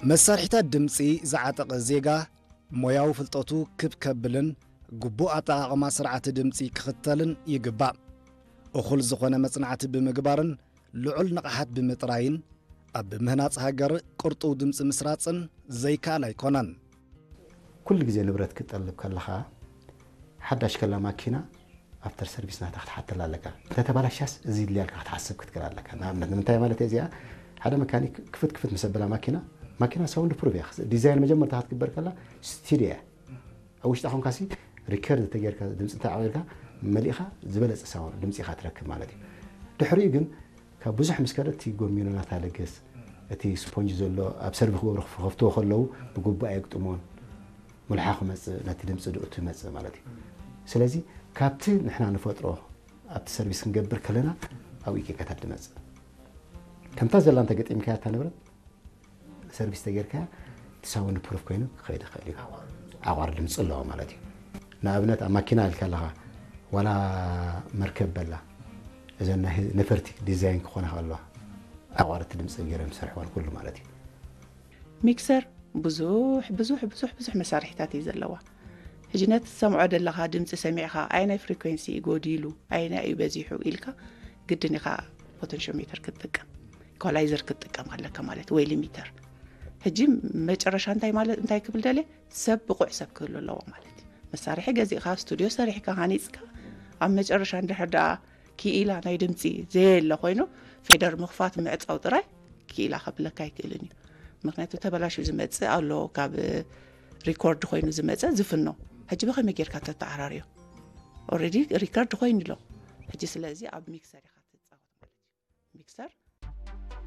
መሳርሒታት ድምጺ ዝዓጠቐ ዜጋ ሞያዊ ፍልጠቱ ክብ ከብልን ግቡእ ኣጠቓቕማ ስርዓት ድምጺ ክኽተልን ይግባእ። እኹል ዝኾነ መጽናዕቲ ብምግባርን ልዑል ንቕሓት ብምጥራይን ኣብ ምህናጽ ሃገር ቅርጡው ድምጺ ምስራጽን ዘይከኣል ኣይኮነን። ኩሉ ግዜ ንብረት ክትጠልብ ከለኻ ሓዳሽ ከላ ማኪና ኣፍተር ሰርቪስ ናታ ክትሓተላ ኣለካ። እንተተባላሻስ እዚ ይድልያልካ ክትሓስብ ክትክእል ኣለካ። ንኣብነት ንምንታይ ማለት እዚኣ ሓደ መካኒክ ክፍት ክፍት ምስ ኣበላ ማኪና ማኪና ሳውንድ ፕሩፍ እያ። ዲዛይን መጀመርታ ክትግበር ከላ ስቱዲዮ እያ። ኣብ ውሽጣ ኮንካሲ ሪከርድ ተጌርካ ድምፂ እንተዓቂርካ መሊእኻ ዝበለፀ ሳውንድ ድምፂ ኢኻ ትረክብ ማለት እዩ። ድሕሪኡ ግን ካብ ብዙሕ ምስ ከደ እቲ ጎሚኖ ናታ ለገስ እቲ ስፖንጅ ዘሎ ኣብ ሰርቪ ክገብሩ ክኸፍትዎ ከለዉ ብግቡእ ኣየግጥሞን። ሙልሓ ክመፅእ ነቲ ድምፂ ድእቱ ይመፅእ ማለት እዩ። ስለዚ ካብቲ ንሕና ንፈጥሮ ኣብቲ ሰርቪስ ክንገብር ከለና ኣብኡ ጌጋታት ድመፅእ። ከምታ ዘላ እንተገጢምካያ እታ ንብረት ሰርቪስ ተጌርካያ እቲ ሳውንድ ፕሩፍ ኮይኑ ክኸይድ ይኽእል እዩ። ኣቋር ድምፂ ኣለዎ ማለት እዩ። ንኣብነት ኣብ ማኪና ኢልካ ኣለኻ ዋላ መርከብ በላ እዘን ናይ ነፈርቲ ዲዛይን ክኾና ከለዋ ኣቋርቲ ድምፂ ገይሮም ዝሰርሕወን ኩሉ ማለት እዩ። ሚክሰር ብዙሕ ብዙሕ ብዙሕ ብዙሕ መሳርሒታት እዩ ዘለዋ። ሕጂ ነቲ ትሰምዖ ዘለኻ ድምፂ ሰሚዕኻ ኣየናይ ፍሪኮንሲ እዩ ጎዲሉ ኣየናይ እዩ በዚሑ ኢልካ ግድን ኢኻ ፖተንሽዮሜተር ክትጥቀም ኢኳላይዘር ክትጥቀም ኣለካ ማለት ወይ ሊሚተር። ሕጂ መጨረሻ እንታይ ማለት እንታይ ክብል ደልየ ሰብ ብቑዕ ሰብ ክህሉ ኣለዎ ማለት እዩ። መሳርሒ ገዚእኻ ስቱድዮ ሰሪሕካ ሃኒፅካ ኣብ መጨረሻ እንድሕር ደኣ ክኢላ ናይ ድምፂ ዘየለ ኮይኑ ፌደር ምኽፋት ምዕፃው ጥራይ ክኢላ ከብለካ ኣይክእልን እዩ። ምክንያቱ ተበላሽዩ ዝመፅእ ኣሎ ካብ ሪኮርድ ኮይኑ ዝመፀ ዝፍኖ ሕጂ ብኸመይ ጌርካ ተተዓራርዮ ኦረዲ ሪከርድ ኮይኑ ኣሎ። ሕጂ ስለዚ ኣብ ሚክሰር ኢኻ ትፃወት ማለት እዩ። ሚክሰር